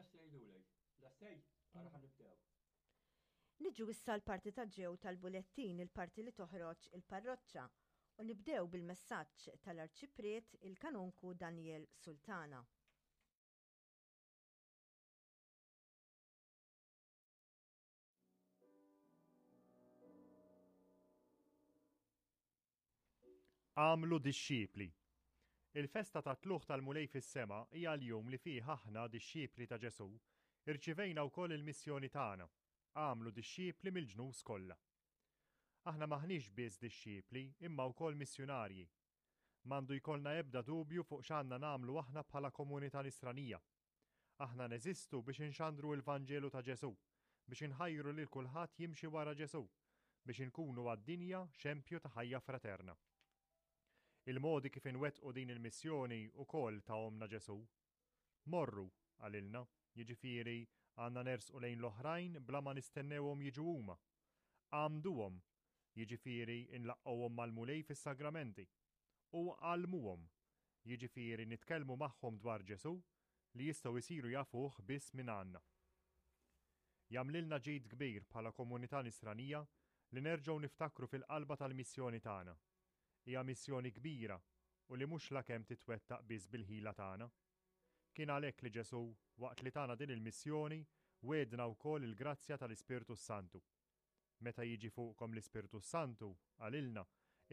Lesti jgħidulek. Lestej? Ara ħa nibdew. Niġu issa l-parti ta' ġew tal-bulettin, il-parti li toħroġ il-parroċċa, u nibdew bil-messaġġ tal-Arċipriet il-Kanonku Daniel Sultana. Agħmlu dixxipli. Il-festa tat-Tlugħ tal-Mulej fis-sema hija l-jum li fih aħna, dixxipli ta' Ġesù, irċivejna wkoll il-missjoni tagħna, agħmlu dixxipli mill-ġnus kollha. Aħna m'aħniex biss dixxipli imma wkoll missjunarji. M'għandu jkollna ebda dubju fuq x'għandna nagħmlu aħna bħala komunità nisranija. Aħna neżistu biex inxandru l-Vanġelu ta' Ġesù, biex inħajru lil kulħadd jimxi wara Ġesù, biex inkunu għad-dinja xempju ta' ħajja fraterna. Il-modi kif inwettqu din il-missjoni wkoll tahomlna Ġesù. Morru, qalilna, jiġifieri għandna nersqu lejn l-oħrajn bla ma nistennewhom jiġu huma. Għammduhom, jiġifieri nlaqqgħuhom mal-Mulej fis-sagramenti. U għallmuhom, jiġifieri nitkellmu magħhom dwar Ġesù li jistgħu jsiru jafuh biss mingħandna. Jagħmlilna ġid kbir bħala komunità Nisranija li nerġgħu niftakru fil-qalba tal-missjoni tagħna. Hija missjoni kbira u li mhux lakemm titwettaq biss bil-ħila tagħna. Kien għalhekk li Ġesù, waqt li tana din il-missjoni, wegħdna wkoll il-grazzja tal-Ispirtu s-Santu. Meta jiġi fuqkom l-Ispirtu s-Santu, qalilna,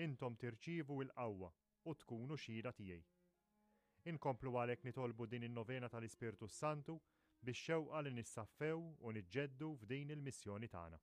intom tirċievu l-qawwa u tkunu xhieda tiegħi. Inkomplu għalhekk nitolbu din in-novena tal-Ispirtu s-Santu bix-xewqa li nissaffew u niġġeddu f'din il-missjoni tagħna.